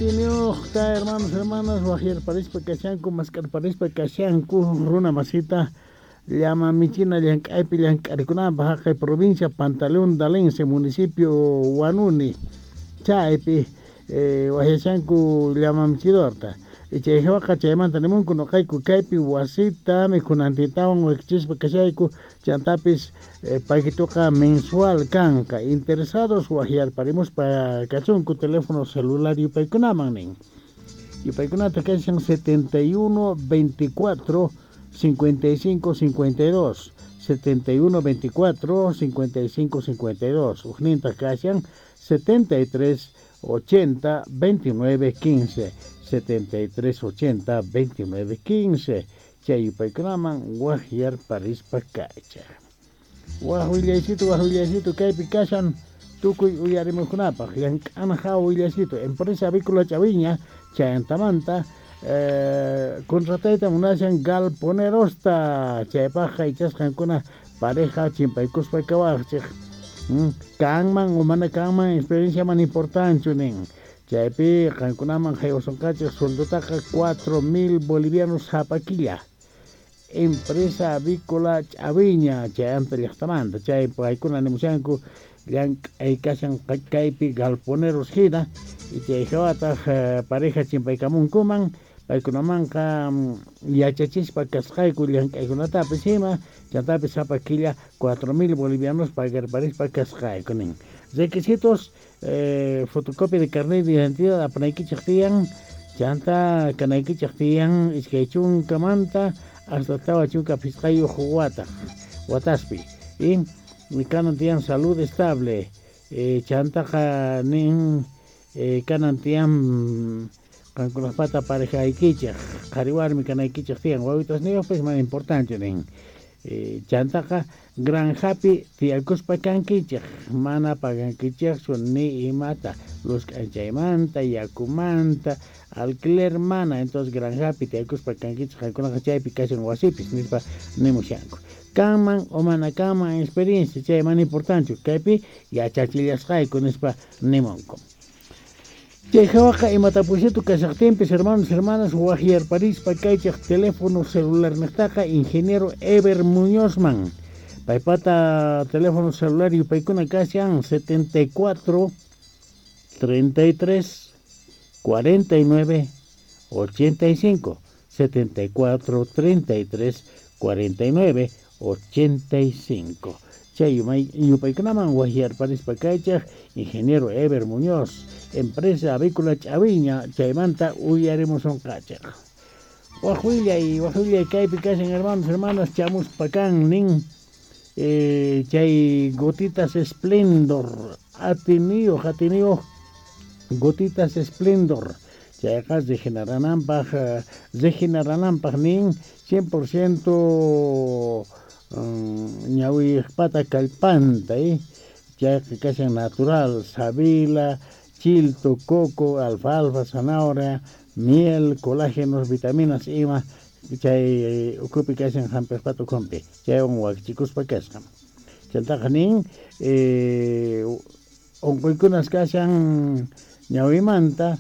Atiyniyojta hermanos, hermanas, wajyarparispa kashanku, mask'arparispa kashanku, runa masita llama michina llank'aypi llank'arikunanpaj jaqay provincia Pantaleón Dalense, municipio Huanuni, chaypi wajyashanku llama michidorta. Chay jawaqa chaymanta nimunku noqayku kaypi wasita mikhunantintawan wakichispa kashayku, chantapis paquitoqa mensual kanqa. Interesados wajyarparimuspa kachunku teléfono celular yupaykunaman nin. Yupaykunata kashan 71 24 55 52, 71 24 55 52, ujnintaj kashan 73 80 29 15, 73 80 29 15. Chay yupaykunaman wajyarparispa kaychaj. Waj willaycito, waj willaycito kaypi kashan tukuy uyarimuqkunapaj llank'ana hawa willaycito. Empresa Avícola Chaviña chayantamanta contratayta munashan galponerosta, chaypajqa ichasqankuna pareja chimpaykuspa kawajchej. Kanman o mana kanman experiencia mana importanchu nin. Chaypi qankunaman haywasonqachej sueldotaqa 4.000 bolivianos sapa killa. Empresa Avícola Chaviña chayanta llaqtamanta, chay paykuna nimushanku llank'ay kashan kaypi galponeros hina, y chay hawataj pareja chimpaykamunkuman, paykunamanqa yachachispa kasqayku llank'aykunatapis ima, chantapis sapa killa 4.000 bolivianos pagarparispa kasqayku nin. Requisitos, fotocopia de carnet de identidad apanaykichej tiyan, chanta kanaykichej tiyan iskay chunkamanta hasta tawa chunka phisqayuq wataspi. Y kanan tiyan salud estable, chantaqa nin kanan tiyan qankunajpata parejaykichej, qhari warmi kanaykichej tiyan, wawitasniyojpis mana importante nin. Chantaqa granjapi tiyakuspa kankichej, mana pagankichejchu ni imata, luz k'anchaymanta, yakumanta, alquiler mana, entonces granjapi tiyakuspa kankichej, qankunaqa chaypi kashan wasipis nispa nimushanku. Kanman o mana kanman experiencia, chay mana importante, kaypi yachachillasqayku nispa nimunku. Chay hawaqa imatapuysitu kashaqtinpis, hermanos, hermanas, wajyarparispa kaychej teléfono celular niqtaqa ingeniero Ever Muñozman. Paypata teléfono celular yupaykuna kashan 74 33 49 85, 74 33 49 85. Chay yupaykunaman wajyarparispa kaychej ingeniero Ever Muñoz, empresa Avícola Chaviña, chaymanta uyarimusonqachej. Waj willay kaypi kashan hermanos, hermanas, chamuspa kan nin, chay gotitas Splendor, atiniyoj gotitas Splendor, chayqa regenerananpaj nin 100% ñawiypata kallpanta, chayqa kashan natural, sábila, chilto, coco, alfalfa, zanahoria, miel, colágenos, vitaminas ima, chay ukhupi kashan hampejpata ukhunpi, chaywan wakichikuspa kasqa. Chantaqa nin unquykunas kashan ñawimanta,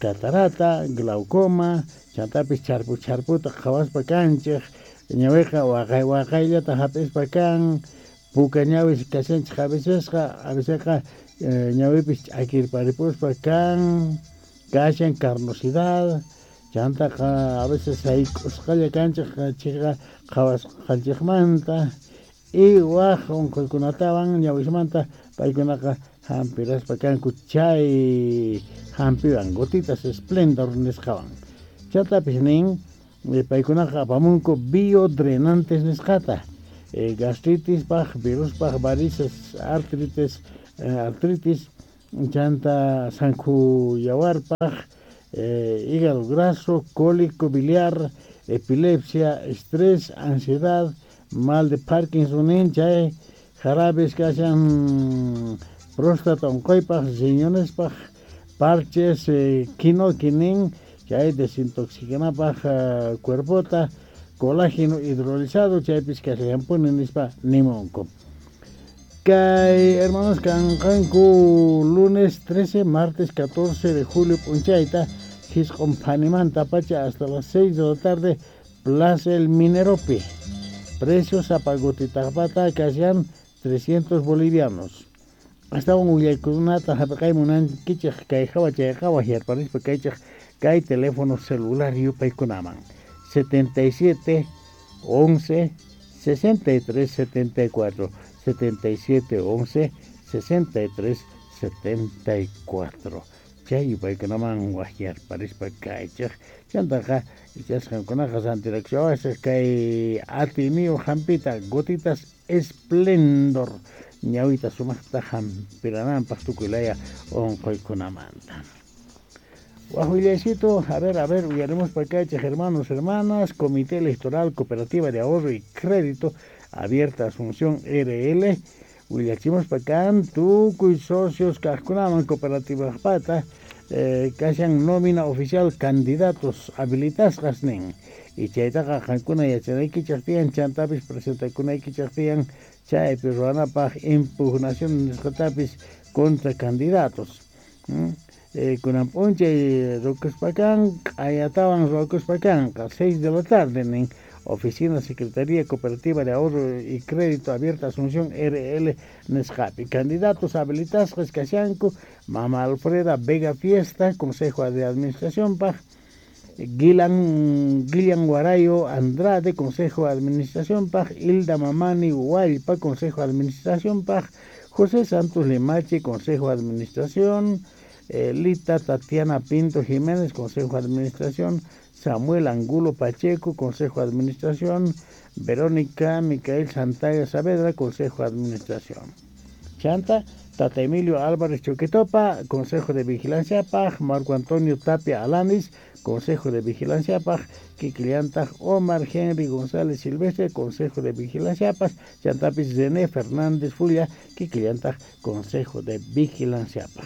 catarata, glaucoma, chantapis charpu charputa qhawaspa kanchej, ñawiqa waqay waqayllata hap'ispa kan, puka ñawis kashanchej a vecesqa ñawipis ch'akirparipuspa kan, kashan carnosidad, chantaqa a veces sayk'usqalla kanchej chayqa qhawasqanchejmanta, y waj unquykunatawan ñawismanta paykunaqa hampiraspa kanku chay hampiwan gotitas Splendor nisqawan. Chantapis nin paykunaqa apamunku biodrenantes nisqata, gastritispaj, viruspaj, varices, artritis, chanta sankhu yawarpaj, hígado graso, cólico biliar, epilepsia, estrés, ansiedad, mal de Parkinson nin, chay jarabes kashan próstata unquypaj, riñonespaj, parches, quinoqui nin, chay desintoxicanapaj cuerpota, colágeno hidrolizado, chaypis kashallanpuni nispa nimunku. Kay hermanos kanqanku lunes 13, martes 14 de julio p'unchayta jisq'on phanimanta pacha hasta las 6 de la tarde Plaza El Mineropi. Precios sapa gotitaqpata kashan 300 bolivianos. Astawan willaykunata hap'iqay munankichej kay hawa chayqa wajyarparispa kaychej kay teléfono celular yupaykunaman 77 11 63 74 77 11 63 74 chay yupaykunaman wajyarparispa kaychej chantaqa ichasqankunaqa rantirakshawasaq kay atiyniyuq hampita gotitas Esplendor ñawita sumaqta hampirananpaq tukuy laya unquykunamanta. Waj willaycito, a ver, uyarimuspa kaychej hermanos, hermanas, Comité Electoral Cooperativa de Ahorro y Crédito Abierta Asunción RL, willachimuspa kan tukuy socios kajkunaman cooperativajpata kashan nómina oficial candidatos habilitasqas nin y chaytaqa qankuna yachanaykichej tiyan chantapis presentakunaykichej tiyan chaypi ruwanapaj impugnación nisqatapis contra candidatos. Kunan p'unchay rukuspa kan q'ayatawan ruwakuspa kanqa 6 de la tarde nin Oficina Secretaría Cooperativa de Ahorro y Crédito Abierta Asunción RL nisqapi. Candidatos habilitasqas kashanku Mama Alfreda Vega Fiesta, Consejo de Administración paj, Guillan Guarayo Andrade, Consejo de Administración paj, Hilda Mamani Hualpa, Consejo de Administración paj, José Santos Limache, Consejo de Administración, Lita Tatiana Pinto Jiménez, Consejo de Administración, Samuel Angulo Pacheco, Consejo de Administración, Verónica Micael Santalla Saavedra, Consejo de Administración. Chanta, Tata Emilio Álvarez Choquetopa, Consejo de Vigilancia PAJ, Marco Antonio Tapia Alanis, Consejo de Vigilancia PAJ, Kikiliantaj, Omar Henry González Silvestre, Consejo de Vigilancia PAJ, Chantapis René Fernández Fulia, Kikiliantaj, Consejo de Vigilancia PAJ.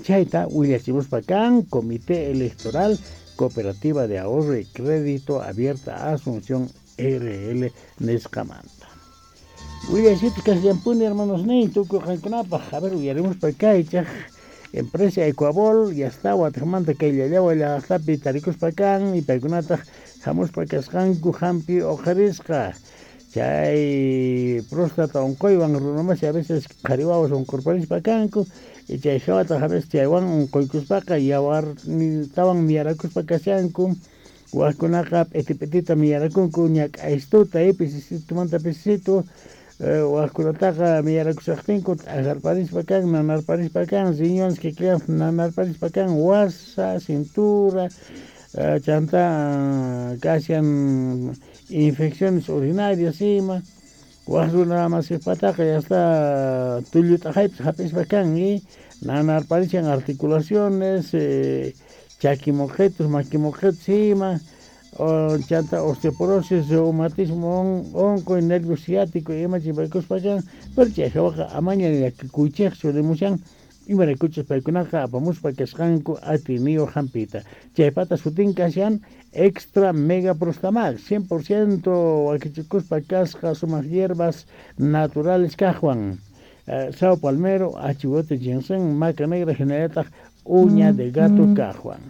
Chayta, willachimuspa kan, Comité Electoral Cooperativa de Ahorro y Crédito Abierta Asunción RL nisqamanta. Willaysitos kasllampuni hermanos nin tukuy qankunapaj. A ver, uyarimuspa kaychaj empresa Ecuabol ya está watejmanta kay llallawa llaqtapi tarikuspa kan y paykunataj hamuspa kasqanku hampi uqharisqa chay próstata unquywan runamasi a veces qhari wawas unqurparispa kanku y chay hawataq a veces chaywan unquykuspaqa yawartawan miyarakuspa kashanku wajkunaqa p'iti p'itita miyarakunku ñak'aystuta pisisitumanta pisisitu wajkunataqa miyarakushaqtinku t'ajarparispa kan nanarparispa kan riñones kikillan nanarparispa kan wasa cintura chanta kashan infecciones urinarias ima waj runa masipataqa ya está tullu t'aqaypis hap'ispa kan y nanarparishan articulaciones chaki moqetus maki moqetus ima chanta osteoporosis, reumatismo, unquy, nervio ciático ima chimpaykuspa kan, pero chay hawaqa amaña llakikuychejchu nimushan imaraykuchus paykunaqa apamuspa kasqanku atiyniyuq hampita. Chaypata sutin kashan Extra Mega Prostamax, 100% wakichikuspa kasqa sumaq hierbas naturales kajwan. Sao palmero, achihuate ginseng, maca negra hinallataq uña de gato kajwan.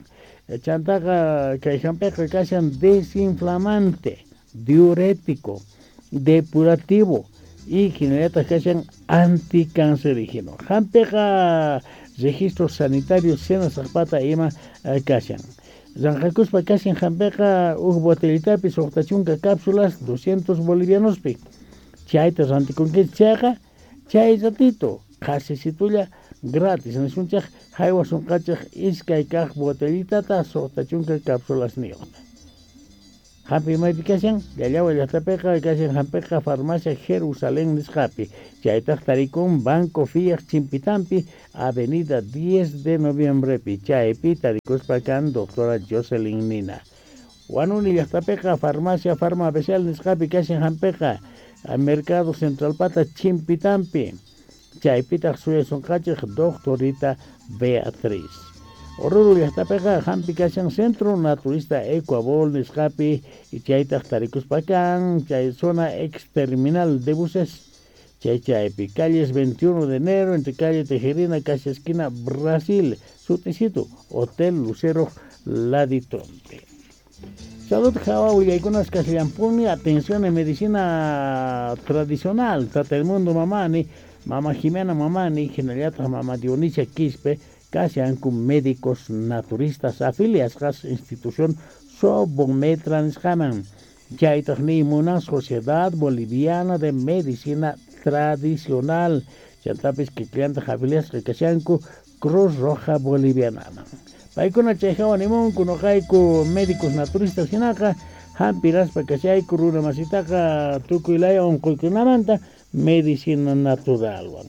Chantaqa kay hampiqa kashan desinflamante, diurético, depurativo y hinallataq kashan anticancerígeno. Hampiqa registro sanitario senasaqpata ima kashan. Ranqakuspa kashan hampiqa uj botellitapi suqta chunka cápsulas 200 bolivianospi. Chayta rantikunkichik chayqa chay ratito qhasisitulla gratis nisunchej haywasunqachej iskay kaq botellitata suqta chunka cápsulasniyuqta. Hampi maypi kashan Llallawa llaqtapiqa kashan hampiqa farmacia Jerusalén nisqapi. Chaytaq tarikun Banco Fiat Chimpitampi, Avenida 10 de Noviembrepi. Chaypi tarikuspa kan doctora Jocelyn Nina. Huanuni llaqtapiqa farmacia Farma Especial nisqapi kashan hampiqa Mercado Central Pata Chimpitampi. Chaypitaq suyasunqachej doctorita Beatriz. Oruro llaqtapiqa hampi kashan Centro Naturista Ecuabol nisqapi y chaytaq tarikuspa kan chay zona ex terminal de buses. Chay chaypi, calles 21 de enero, entre calle Tejerina, casi esquina Brasil, sutisitu, Hotel Lucero Laditonte. Salud Java willaykunas kashallampuni, atención en medicina tradicional, Tata el Mundo Mamani, Mama Jimena Mamani, hinallataq Mama Dionisia Quispe, kashanku médicos naturistas afiliasqas institución Sobometra nisqaman. Chaytaq niymuna Sociedad Boliviana de Medicina Tradicional, chantapis kikillantaq afiliasqa kashanku Cruz Roja Bolivianaman. Paykuna chay hawa nimunku noqayku médicos naturistas hinaqa hampiraspa kashayku runa masitaqa tukuy laya unquykunamanta medicina naturalwan.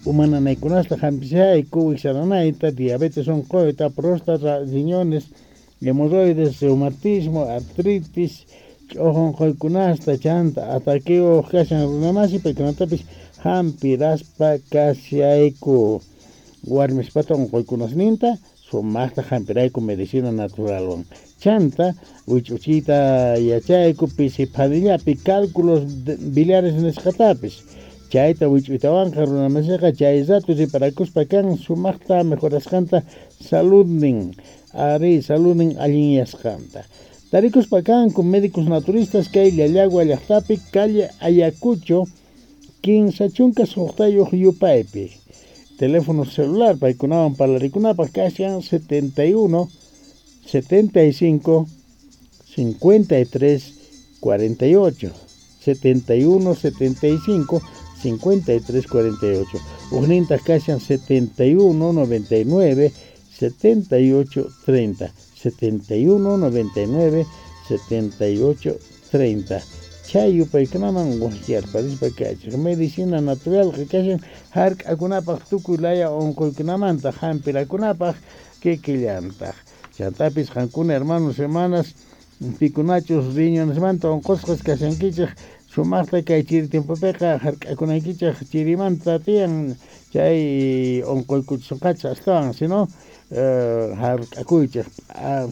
Uma nanaykunasta hampishayku wiksananayta, diabetes unquyta, próstata, riñones, hemorroides, reumatismo, artritis, ch'uq unquykunasta, chanta ataqueo kashan runamasi paykunatapis hampiraspa kashayku. Warmispata unquykunasninta sumaqta hampirayku medicina naturalwan. Chanta wich'uchiyta yachayku pisi phanillapi cálculos biliares nisqatapis. Chayta wich'uytawanqa runamasiqa chay rato riparakuspa kan sumaqta mejorasqanta saludnin, ari saludnin allinyasqanta. Tarikuspa kanku médicos naturistas kay Llallagua llaqtapi calle Ayacucho 56 yupaypi. Teléfono celular paykunawan parlarikunapaq kashan 71 75 53 48, 71 75 53 48. Ujnintaq kashan 71 99 78 30, 71 99 78 30. Chay yupaykunaman waqyarparispa kachik. Medicina natural kashan hark'akunapaq tukuy laya unquykunamanta hampirakunapaq kikillantaq. Chantapis qankuna hermanos hermanas pikunachus riñonesmanta unqusqas kashankichik sumaqta kay chiri tiempopiqa hark'akunaykichik chirimanta tiyan chay unquykuchisqachik astawan, sino hark'akuychik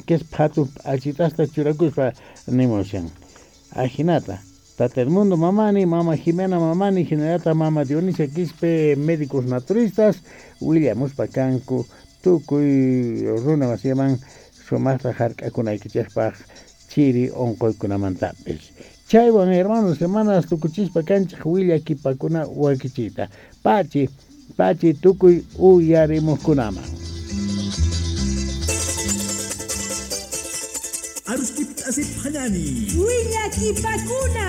kes phatu p'achitasta churakuspa nimushan. Ajinata, Tata el Mundo Mamani, Mama Jimena Mamani, hinallataq Mama Dionisia Quispe, médicos naturistas, willamuspa kanku tukuy runa masiman sumaqta hark'akunaykichikpaq chiri unquykunamantapis. Chaywan hermanos, hermanas, tukuchispa kanchik willakipakuna wakichiyta. Pachi, pachi tukuy uyarimuqkunaman. Willakipakuna.